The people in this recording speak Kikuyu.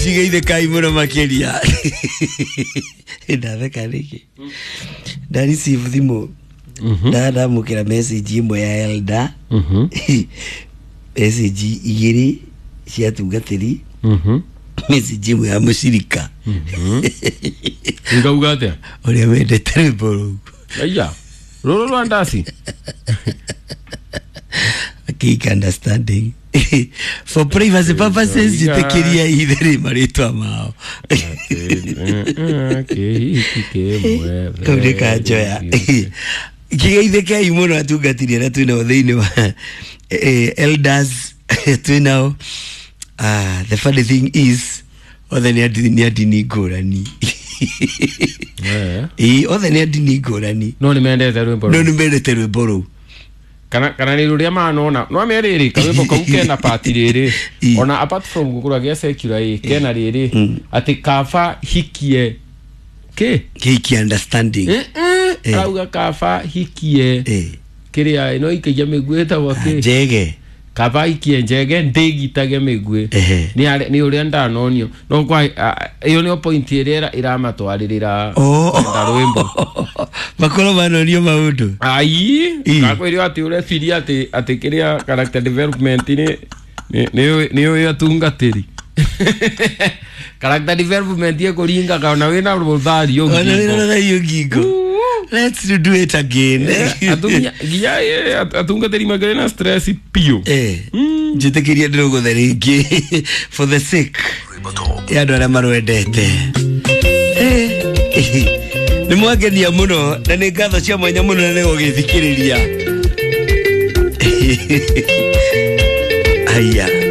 Kigeithĩkai mũno makĩria. Ndatheka nĩkĩ? Nda receive thimũ, ndamũkĩra message ĩmwe ya elder, message igĩrĩ cia tungatĩri, message ĩmwe ya mũcirika. Ngauga atĩa? Ũrĩa wendete rwĩmbo rũu. Aya rũrũ rwa ndasi. Cake understanding. For privacy purposes, njĩtĩkĩria itherĩ marĩtwa mao. Kĩhiki kĩmwe. Kau nĩ kanjoya. Kĩgeithĩkei mũno atungatĩri arĩa twĩnao thĩinĩ wa elders twĩnao. Ah, the funny thing is othe nĩ a ndini ngũrani. Ĩĩ, othe nĩ a ndini ngũrani. No nĩ mendete rwĩmbo no rũu. Nĩ mendete rwĩmbo rũu. Kana nĩ rũrĩa manona no merĩrĩ karwĩmbo kau kena pati rĩrĩ. Ona apart from gũkũra gĩa secular ĩ kena rĩrĩ atĩ kaba hikie kĩ. Kĩhiki understanding. Arauga kaba hikie kĩrĩa ĩno ikagia mĩguĩ ĩtagwo kĩ? Njege. Kaba hikie njege ndĩgitage mĩguĩ. Nĩ ũrĩa ndanonio no kwa ĩyo nĩyo point ĩrĩa ĩramatwarĩrĩra kwenda rwĩmbo. Makorwo manonio maũndũ. Ai, kakwĩrio atĩ ũreciria atĩ kĩrĩa character development nĩ ũyũ atungatĩri character development ĩkũringaga ona wĩna rũthario Ona wĩna ngingo. rũthario ngingo. Let's do it again. Nginya atungatĩri makĩrĩ na stress piũ. Njĩtĩkĩria ndĩrũgũthe rĩngĩ for the sake ya andũ arĩa marwendete. Nĩ mwangenia mũno na nĩ ngatho cia mwanya mũno na nĩ gũgĩthikĩrĩria. Aya.